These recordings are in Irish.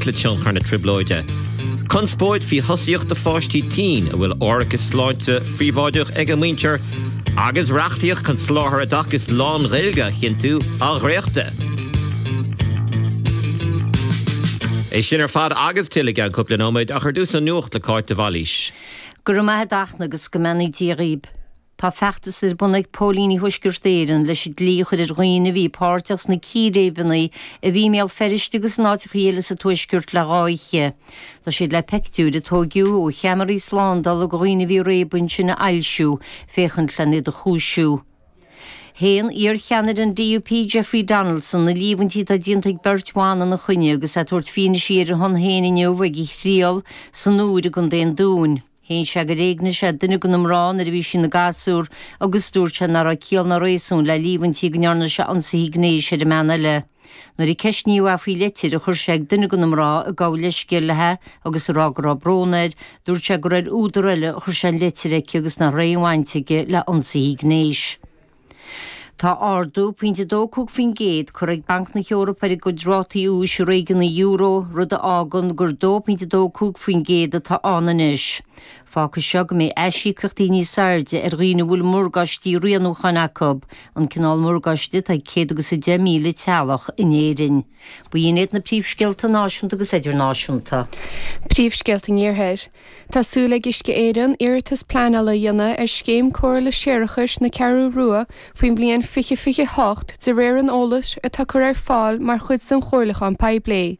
le tionchar na trioblóide. Conspóid faoi thosaíocht do pháistí tinn a bhfuil árachas sláinte phríobháideach ag a muintir agus reachtaíocht chun soláthar oideachais lán-Ghaeilge a chinntiú á dhréachtadh. É sin ar fad agus tuilleadh i gceann cúpla nóiméad ach ar dtús an nuacht le Cáit de Bhailís. Go raibh maith a't a Fhachtna agus go mbeannaí Dia dhaoib. Tá feachtas ar bun ag póilíní Thuaisceart Éireann leis an dlí a chur ar dhaoine a bhí páirteach sna círéibeanna a bhí i mBéal Feirste agus in áiteacha eile sa Tuaisceart le dha oíche. Tá siad le peictiúir a tóigeadh ó cheamaraí slándála de dhaoine a bhí ag réabadh ansin a fhoilsiú féachaint len iad a chúisiú. Shéan iar-cheannaire an DUP Jeffrey Donaldson na líomhaintí atá déanta ag beirt bhan ina choinne agus é ag tabhairt fianaise ar a shon féin inniu ag a thriail san Iúr i gContae an Dúin. Shéan sé gur éignigh sé duine de na mná nuair a bhí sí ina gasúr agus dúirt sé nach raibh ciall ná réasún le líomhaintí go ndearna sé ionsaithe gnéis ar an mbean eile. Nuair a ceistníodh é faoi leitir a chuir sé ag duine de na mná ag gabháil leithscéil léi agus ag rá go raibh brón air, dúirt sé gur ar údar eile a chuir sé an leitir aici agus nach raibh aon bhaint aige le hionsaithe gnéis. Tá ardú pointe 2.5% curtha ag Banc na hEorpa ar a gcuid rátaí úis i réigiún an euro, rud a fhágann gur 2.25% atá ann anois. Fágfaidh seo go mbeidh aisíocaíochtaí níos airde ar dhaoine a bhfuil morgáistí rianúcháin acu, an cineál morgáiste atá ag 110,000 teaghlach in Éirinn. B'in iad na príomhscéalta náisiúnta agus idirnáisiúnta. Príomhscéalta an Iarthair. Tá súil ag Uisce Éireann iarratas pleanála a dhéanamh ar scéim cóireála séarachais na Ceathrú Rua faoin mbliain 2028 de réir an eolais atá curtha ar fáil mar chuid den chomhairliúchán poiblí.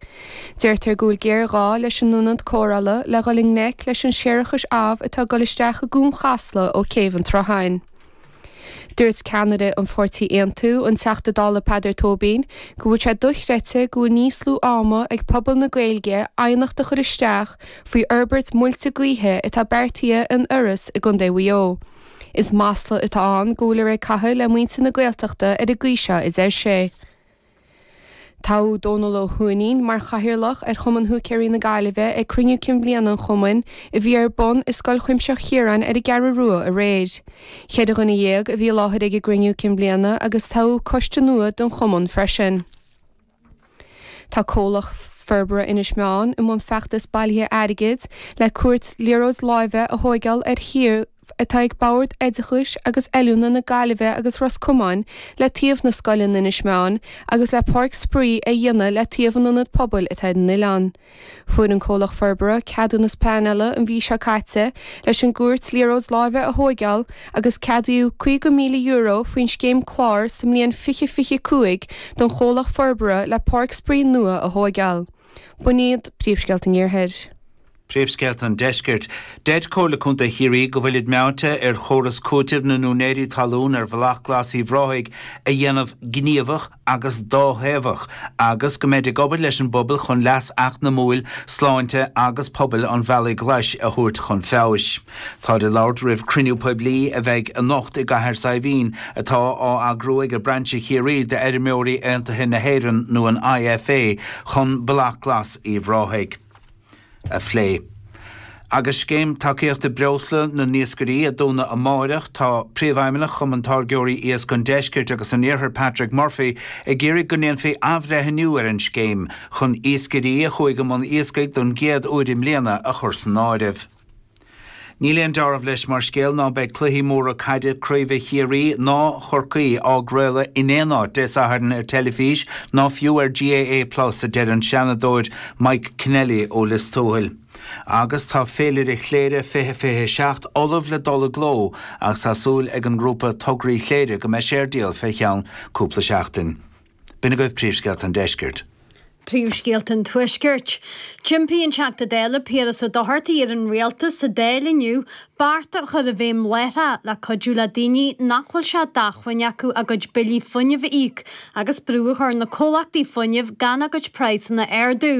Deirtear go bhfuil géarghá leis an ionad cóireála le dhul i ngleic leis an séarachas amh atá ag dul isteach i gCuan Chasla ó Chéibh an tSrutháin. Dúirt ceannaire an pháirtí Aontú, an Teachta Dála Peadar Tóibín, go bhfuil sé dochreidte go bhfuil níos lú ama ag pobal na Gaeilge aighneacht a chur isteach faoi fhorbairt muilte gaoithe atá beartaithe in Iorras i gContae Mhaigh Eo. Is masla atá ann go bhfuiltear ag caitheamh le muintir na Gaeltachta ar an gcaoi seo, a deir sé. Toghadh Dónal Ó hUaithnín mar chathaoirleach ar Chumann Húicéirí na Gaillimhe ag cruinniú cinn bhliana an chumainn a bhí ar bun i Scoil Chuimsitheach Chiaráin ar an gCeathrú Rua aréir. 14 dhuine a bhí i láthair ag an gcruinniú cinn bhliana agus toghadh coiste nua don chumann freisin. Tá Comhlacht Forbartha Inis Meáin i mbun feachtas bailithe airgid le cúirt liathróid láimhe a thóigeáil ar shuíomh atá ag Bord Oideachais agus Oiliúna na Gaillimhe agus Ros Comáin le taobh na scoile in Inis Meáin agus le páirc spraoi a dhéanamh le taobh an ionad pobail atá ar an oileán. Fuair an comhlacht forbartha ceadúnas pleanála an mhí seo caite leis an gcúirt liathróid láimhe a thóigeáil agus ceadaíodh €50,000 faoin scéim clár sa mbliain 2025 don chomhlacht forbartha le páirc spraoi nua a thóigeáil. B'in iad príomhscéalta an Iarthair. Príomhscéalta an Deiscirt. Deir Comhairle Contae Chiarraí go bhfuilid meáite ar chóras cúitimh na n-úinéirí talún ar Bhealach Glas Uíbh Ráthaigh a dhéanamh gníomhach agus dáthaobhach agus go mbeid ag obair leis an bpobal chun leas eacnamúil, sláinte agus pobail an Bhealaigh Ghlais a thabhairt chun feabhais. Táid ag labhairt roimh cruinniú poiblí a bheidh anocht i gCathair Saidhbhín atá á eagrú ag Brainse Chiarraí d'Fheirmeoirí Aontaithe na hÉireann nó an IFA chun Bealach Glas Uíbh Ráthaigh. a phlé. Agus scéim tacaíochta breosla na n-iascairí a dúnadh amáireach, tá Príomhfheidhmeannach Chumann Táirgeoirí Iasc an Deiscirt agus an Iarthair Patrick Murphy ag iarraidh go ndéanfaí athbhreithniú ar an scéim chun iascairí a chuaigh i mbun iascaigh don gcéad uair i mbliana a chur san áireamh. Níl aon deáramh leis mar scéal ná beidh cluichí móra caide craoibhe Chiarraí ná Chorcaí á gcraoladh in aon áit Dé Sathairn ar teilifís ná fiú ar GAA Plus, a deir an Seanadóir Mike Kennelly ó Lios Tuathail. Agus tá Féilire Chléire 2027 ullamh le dul i gcló agus tá súil ag an ngrúpa Tograí Chléire go mbeidh sé ar díol fé cheann cúpla seachtain. B'in agaibh príomhscéalta an deiscirt. Príomhscéalta an Tuaiscirt. D'impigh an Teachta Dála Piaras Ó Dochartaigh ar an Rialtas sa Dáil inniu bearta a chur i bhfeidhm láithreach le cuidiú le daoine nach bhfuil sé d'acmhainn acu a gcuid billí fuinnimh a íoc agus brú a chur ar na comhlachtaí fuinnimh gan a gcuid praghsanna a ardú.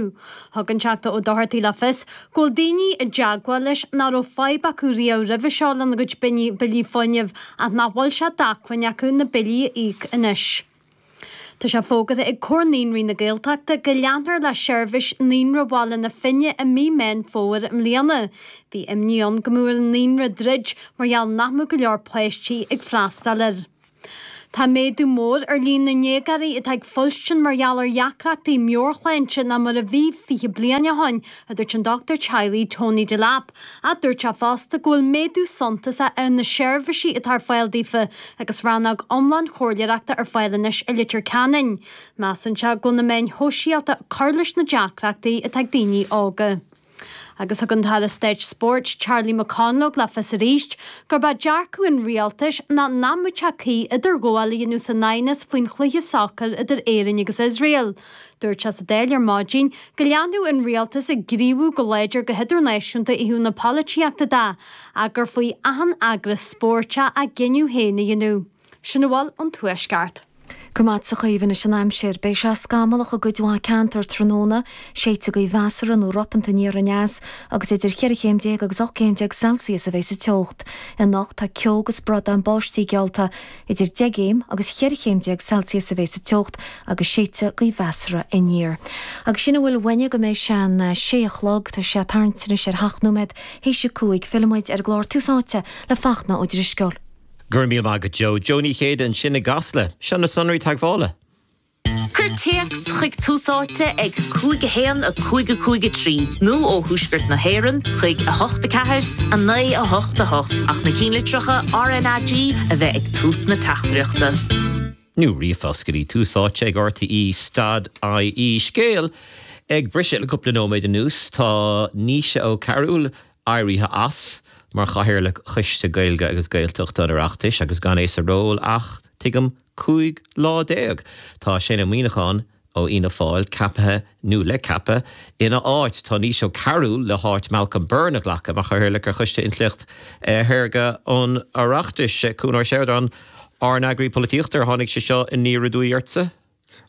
Thug an Teachta Ó Dochartaigh le fios go bhfuil daoine i dteagmháil leis nach raibh fadhb acu riamh roimhe seo lena gcuid billí fuinnimh ach nach bhfuil sé d'acmhainn acu na billí a íoc anois. Tá sé fógartha ag Comhar Naíonraí na Gaeltachta go leanfar le seirbhís Naíonra Bhaile na Finne i mí Meán Fómhair i mbliana. Bhí imní ann go mbeadh ar an naíonra druid mar gheall nach mbeadh go leor páistí ag freastal air. Tá méadú mór ar líon na ndéagóirí atá ag fuilstin mar gheall ar dheacrachtaí meabhairshláinte ná mar a bhí 20 bliain ó shin, a dúirt an dochtúir teaghlaigh Tony Delap. Ach dúirt sé fosta go bhfuil méadú suntasach ar na seirbhísí atá ar fáil daofa agus rannóg iomlán chomhairleoireachta ar fáil anois i Leitir Ceanainn. Measann sé go bhfuil na meáin shóisialta ag cur leis na deacrachtaí atá ag daoine óga. Agus thug an tAire Stáit Spóirt Charlie McConalogue le fios arís gurb é dearcadh an rialtais ná nach mbeadh sé cuí idirghabháil a dhéanamh san aighneas faoin chluiche sacair idir Éirinn agus Iosrael. Dúirt sé sa Dáil ar maidin go leanfadh an rialtas ag gníomhú go láidir go hidirnáisiúnta ó thaobh na polaitíochta de ach gur faoi achan eagras spóirt é a gcinneadh féin a dhéanamh. Sin a bhfuil ón Tuaisceart. Go raibh maith agat a Chaoimhe anois an aimsir. Beidh sé scamallach i gcuid mhaith ceantar tráthnóna, séidfidh gaoth mheasartha nó ropanta aniar aneas agus idir cheithre chéim déag agus 18 céim Celsius a bheidh sa teocht. Anocht tá ceo agus bradán báistí geallta. Idir 10 gcéim agus cheithre chéim déag Celsius a bheidh sa teocht agus séidfidh gaoth mheasartha aniar. Agus sin a bhfuil uainne go mbeidh sé an sé a chlog. Tá sé ag tarraingt anois ar sheacht nóiméad théis a 5. Fillfidh muid ar an gclár Tús Áite le Fachtna Ó Drisceoil. Go raibh míle maith agat Joe. Joe Ní Chéide ansin i gCasla. Seo na sonraí teagmhála. Cuir téacs chuig Tús Áite ag 5 1 5 5 3 nó ó Thuaisceart na hÉireann chuig 8 4 9 8 8 ach na cinnlitreacha RnaG a bheith ag tús na teachtaireachta. Nó ríomhphost go dtí Tús Áite ag RTÉ dot IE. Scéal ag briseadh le cúpla nóiméad anuas, tá Naoise Ó Cearúil éirithe as mar Chathaoirleach Choiste Gaeilge agus Gaeltachta an Oireachtais agus gan é sa ról ach, tuigim, 15 lá. Tá Shane Ó Muíneacháin ó Fhianna Fáil ceaptha, nó le ceapadh, ina áit. Tá Naoise Ó Cearúil le háit Malcolm Byrne a ghlacadh mar Chathaoirleach ar Choiste Intleacht Shaorga an Oireachtais. Cuan Ó Seireadáin, ár n-eagraí polaitíochta, ar tháinig sé seo aniar aduaidh ortsa?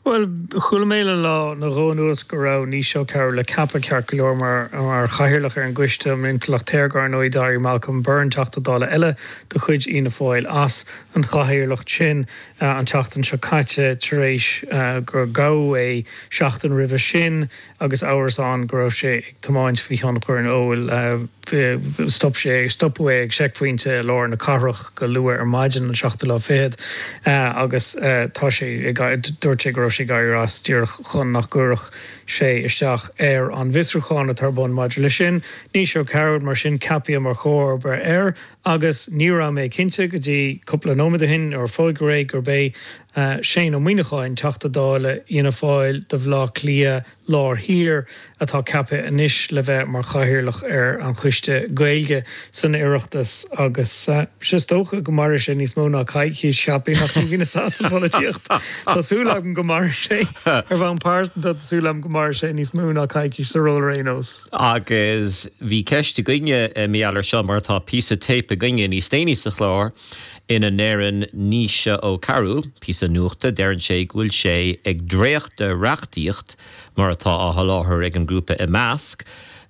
Bhuel, chuala mé le lá nó dhó anuas go raibh Naoise Ó Cearúil le ceapadh, ceart go leor, mar chathaoirleach ar an gCoiste um Intleacht Shaorga. Ar ndóigh, d'éirigh Malcolm Byrne, Teachta Dála eile de chuid Fhianna Fáil, as an chathaoirleacht sin an tseachtain seo caite tar éis gur gabhadh é seachtain roimhe sin. agus amhras ann go raibh sé ag tiomáint faoi thionchar an óil. Stop sé, stopadh é ag seicphointe i lár na cathrach go luath ar maidin an seachtú lá fichead agus tá sé ag, dúirt sé go raibh sé ag éirí as díreach chun nach gcuirfeadh sé isteach ar an bhfiosrúchán atá ar bun maidir leis sin. Naoise Ó Cearúil, mar sin, ceaptha mar chomharba air agus ní raibh mé cinnte go dtí cúpla nóiméad ó shin nuair a fógraíodh é gurb é Shane Ó Muíneacháin, Teachta Dála Fhianna Fáil do Bhaile Átha Cliath Lár Thiar, atá ceaptha anois le bheith mar chathaoirleach ar an Choiste Gaeilge san Oireachtas agus is dócha go mairfidh sé níos mó ná coicís, cheapfainn, ach ní bhíonn a fhios agat sa pholaitíocht. Tá súil agam go mairfidh sé, ar bhonn pearsanta, tá súil agam go mairfidh sé níos mó ná coicís sa ról ar aon nós. Agus bhí ceist againne mar gheall air seo mar tá píosa téip againne níos déanaí sa chlár ina ndeireann Naoise Ó Cearúil, píosa nuachta, deireann sé go bhfuil sé ag dréachtadh reachtaíocht mar atá á sholáthar ag an ngrúpa Imeasc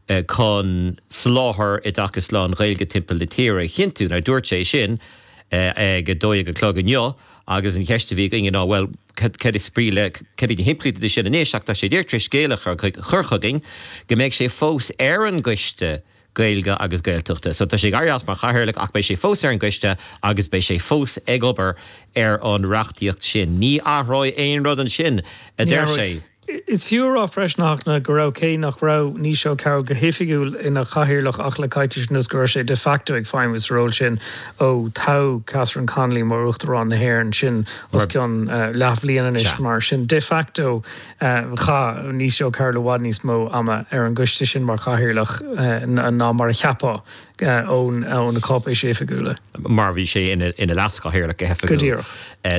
chun soláthar oideachais lán-Ghaeilge timpeall na tíre a chinntiú. Now dúirt sé sin ag 12 a chlog inniu agus an cheist a bhí againne ná bhuel cad is brí le, cad iad na himpleachtaí de sin anois ach tá sé díreach tar éis scéal a chur chugainn go mbeidh sé fós ar an gcoiste Gaeilge agus Gaeltachta. So tá sé ag éirí as mar chathaoirleach ach beidh sé fós ar an gcoiste agus beidh sé fós ag obair ar an reachtaíocht sin. Ní athróidh aon rud ansin, a deir sé. Is fiú a rá freisin, a Fhachtna, go raibh, cé nach raibh Naoise Ó Cearúil go hoifigiúil ina chathaoirleach ach le coicís anuas, go raibh sé de facto ag feidhmiú sa ról sin ó toghadh Catherine Connolly mar Uachtarán na hÉireann, sin os cionn leathbhliain anois. Mar sin, de facto, Chaith Naoise Ó Cearúil i bhfad níos mó ama ar an gcoiste sin mar chathaoirleach ná mar a cheapfá ó na cáipéisí oifigiúla. Mar bhí sé ina leaschathaoirleach go hoifigiúil,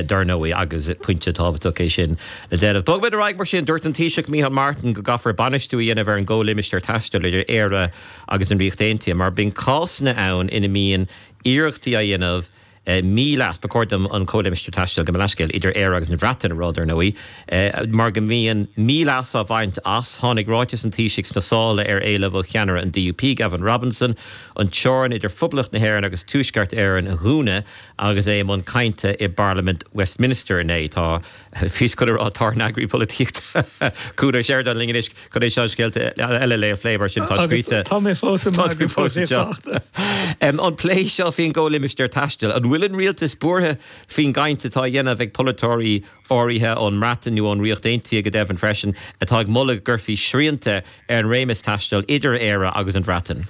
dar ndóigh, agus pointe tábhachtach é sin le déanamh. Bogfaimid ar aghaidh mar sin. Dúirt an Taoiseach Micheál Martin go gcaithfear bainistiú a dhéanamh ar an gcomhlimistéar taistil idir Éire agus an Ríocht Aontaithe mar bíonn cásanna ann ina mbíonn iarrachtaí á dhéanamh míleas, ba chóir dom an comhlimistéar taistil, gabh mo leithscéal, idir Éire agus an Bhreatain a rá, dar ndóigh, mar go mbíonn míleas á bhaint as. Tháinig ráiteas an Taoisigh sna sála ar éileamh ó cheannaire an DUP, Gavin Robinson, an teorainn idir Phoblacht na hÉireann agus Tuaisceart Éireann a dhúnadh agus é i mbun cainte i bParlaimint Westminster inné. Tá, bhíos chun a rá, tá ár n-eagraí polaitíochta, Cuan Ó Seireadáin linn anois. Chun é seo scéalta eile le phlé mar sin tá scríte. Tá mé fós i m'eagraí polaitíochta. An plé seo faoin gcomhlimistéar taistil, an bhfuil. bhfuil an rialtas buartha faoin gcaint atá á dhéanamh ag polaiteoirí áirithe ón mBreatain nó ón Ríocht Aontaithe go deimhin freisin, atá ag moladh go gcuirfí srianta ar an réimeas taistil idir Éire agus an Bhreatain?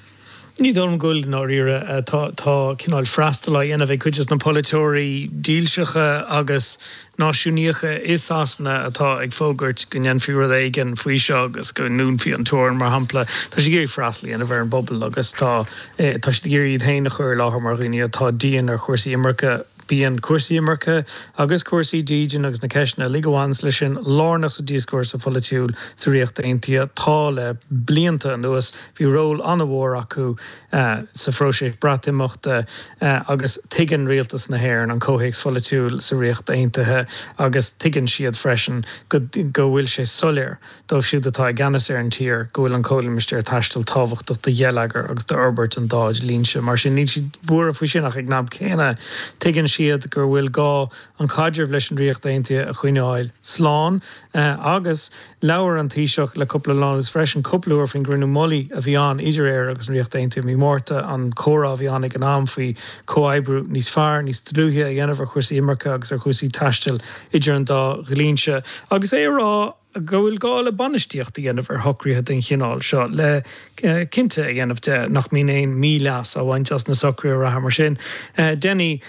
Ní dóigh liom go bhfuil, i ndáiríre. Tá cineál freastal á dhéanamh ag cuid de na polaiteoirí dílseacha agus náisiúnaíocha i Sasana atá ag fógairt go ndéanfaí rud éigin faoi seo agus go ndúnfaí an teorainn, mar shampla. Tá siad ag iarraidh freastal a dhéanamh ar an bpobal agus tá tá siad ag iarraidh iad féin a chur i láthair mar dhaoine atá dian ar chúrsaí imirce. Bíonn cúrsaí imirce agus cúrsaí dídine agus na ceisteanna uilig a bhaineanns leis sin lárnach sa díoscúrsa pholaitiúil sa Ríocht Aontaithe. Tá le blianta anuas. Bhí ról an-mhór acu sa phróiseas Breatimeachta agus tuigeann rialtas na hÉireann an comhthéacs pholaitiúil sa Ríocht Aontaithe agus tuigeann siad freisin go bhfuil sé soiléir dóibh siúd atá i gceannas ar an tír go bhfuil an Comhlimistéar Taistil tábhachtach do gheilleagar agus d'fhorbairt an dá dhlínse. Mar sin níl siad buartha faoi sin ach ag an am céanna tuigeann siad gur bhfuil gá an caidreamh leis an Ríocht Aontaithe a choinneáil slán agus labhair an Taoiseach le cúpla lá anuas freisin cúpla uair faoin gcruinniú mullaigh a bhí ann idir Éire agus an Ríocht Aontaithe i mí Márta, an comhrá a bhí ann ag an am faoi chomhoibriú níos fearr, níos dlúithe a dhéanamh ar chúrsaí imirce agus ar chúrsaí taistil idir an dá dhlínse agus é a rá go bhfuil gá le bainistíocht a dhéanamh ar shocruithe den chineál seo le cinnte a dhéanamh de nach mbíonn aon mhí-leas á bhaint as na socruithe reatha. Mar sin, déanfaidh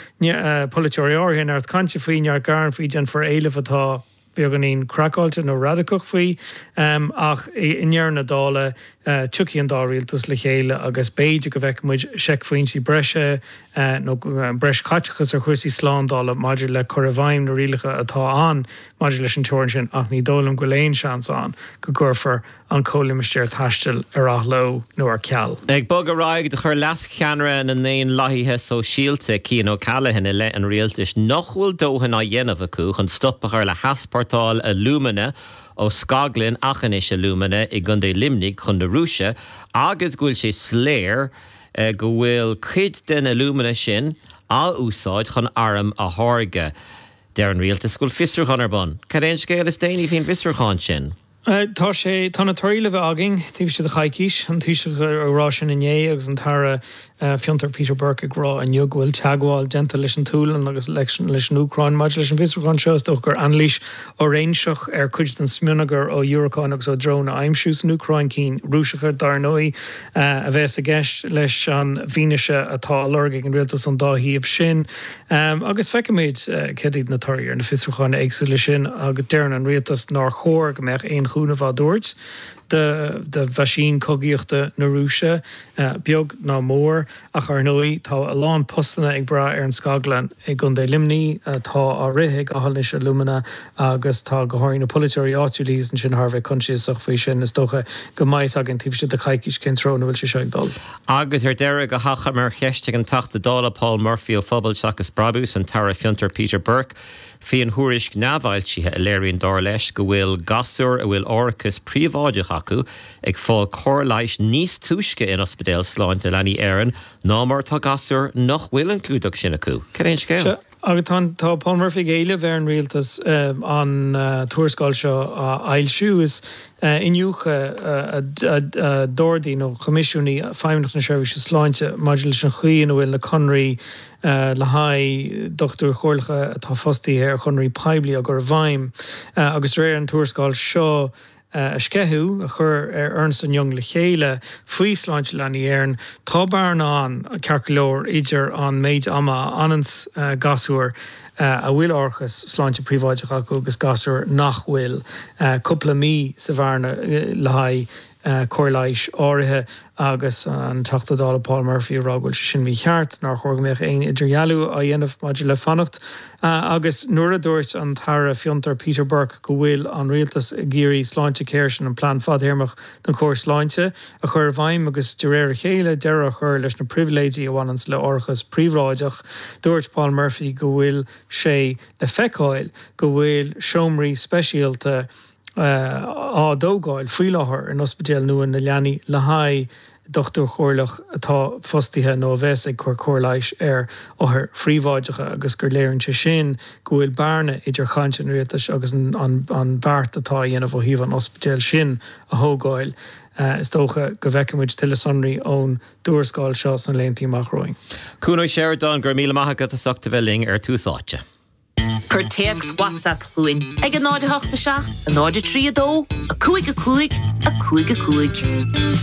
polaiteoirí áirithe neart cainte faoi, neart gearán faoi, déanfar éilimh atá beagáinín craiceáilte nó radacach faoi, ach i ndeireadh na dála, tiocfaidh an dá rialtas le chéile agus b'fhéidir go bhfeicfidh muid seicphointí breise nó breis caiteachais ar chúrsaí slándála maidir le cur i bhfeidhm na rialacha atá ann maidir leis an teorainn sin, ach ní dóigh liom go bhfuil aon seans ann go gcuirfear an Comhlimistéar Taistil ar athló nó ar ceal. Ag bogadh ar aghaidh, do chuir leascheannaire na nDaonlathaithe Sóisialta, Cian O'Callaghan, i leith an rialtais nach bhfuil dóthain á dhéanamh acu chun stop a chur le heaspórtáil alúmana ó scaglann Aughinish Alumina i gContae Luimnigh chun na Rúise agus go bhfuil sé soiléir go bhfuil cuid den alúmana sin á úsáid chun airm a tháirgeadh. Deir an rialtas go bhfuil fiosrúchán ar bun. Cad é an scéal is déanaí faoin bhfiosrúchán sin? Tá sé, tá na torthaí le bheith againn taobh istigh de choicís, an Taoiseach ag rá sin inné agus an tAire Fiontar Peter Burke ag rá inniu go bhfuil teagmháil déanta leis an tSualainn agus leis an Úcráin maidir leis an bhfiosrúchán seo. Is dócha gur anailís fhóiréinseach ar chuid den smionagar ó dhiúracáin agus ó dróin a aimsíodh san Úcráin, cinn Rúiseacha dar ndóigh, a bheas i gceist leis an bhfianaise atá á lorg ag an rialtas ón dá thaobh sin. Agus feicfimid céard iad na torthaí ar na fiosrúcháin éagsúla sin agus deireann an rialtas nár chóir go mbeadh aon chúnamh á dtabhairt do mheaisín cogaíochta na Rúise, beag ná mór. Ach ar ndóigh tá a lán postanna ag brath ar an scaglann i gContae Luimnigh atá á rith ag Aughinish Alumina agus tá go háirithe na polaiteoirí áitiúla thíos ansin thar a bheith coinsiasach faoi sin. Is dócha go mbeidh fhios againn taobh istigh de choicís cén treo ina bhfuil sé seo ag dul. Agus ar deireadh, go hachomair, cheistigh an Teachta Dála Paul Murphy ó Phobal Seachas Brabús an tAire Fiontar Peter Burke faoin thuairisc neamhfhoilsithe a léiríonn dar leis go bhfuil gasúir a bhfuil árachas príobháideach acu ag fáil cóir leighis níos túisce in Ospidéal Sláinte Leanaí Éireann ná mar atá gasúir nach bhfuil an clúdach sin acu. Cad é an scéal? Agus tá tá Paul Murphy ag éileamh ar an rialtas an tuarascáil seo a fhoilsiú. Is iniúchadh a d'ordaigh nó choimisiúnaigh Feidhmeannacht na Seirbhíse Sláinte maidir leis an chaoi ina bhfuil na conraí le haghaidh dochtúirí comhairleacha atá fostaithe ar chonraí poiblí á gcur i bhfeidhm. Agus de réir an tuarascáil seo, a sceitheadh, a chuir Ernst and Young le chéile faoi Sláinte Leanaí Éireann, tá bearna ann, ceart go leor, idir an méid ama a fhananns gasúir a bhfuil árachas sláinte príobháideach acu agus gasúir nach bhfuil. Cúpla mí sa bhearna le haghaidh cóir leighis áirithe agus an Teachta Dála Paul Murphy ag rá go bhfuil sé sin mícheart, nár chóir go mbeadh aon idirdhealú á dhéanamh maidir le fanacht. Agus nuair a dúirt an tAire Fiontar Peter Burke go bhfuil an rialtas ag iarraidh Sláintecare, sin an plean fadthéarmach don chóir sláinte, a chur i bhfeidhm agus de réir a chéile deireadh a chur leis na pribhléidí a bhaineanns le árachas príobháideach, dúirt Paul Murphy go bhfuil sé le feiceáil go bhfuil seomraí speisialta á dtógáil faoi láthair in Ospidéal nua na Leanaí le haghaidh dochtúir chomhairleach atá fostaithe nó a bheas ag cur cóir leighis ar othair phríobháideacha agus gur léiríonn sé sin go bhfuil bearna idir chaint an rialtais agus an beart atá á dhéanamh ó thaobh an ospidéil sin a thógáil. Is dócha go bhfeicfidh muid tuilleadh sonraí ón dtuarascáil seo sna laethanta amach romhainn. Cuan Ó Seireadáin, go raibh míle maith agat as ucht a bheith linn ar Tús Áite. Cuir téacs WhatsApp chugainn ag 0 8 7 0 3 2 5 5 5 5.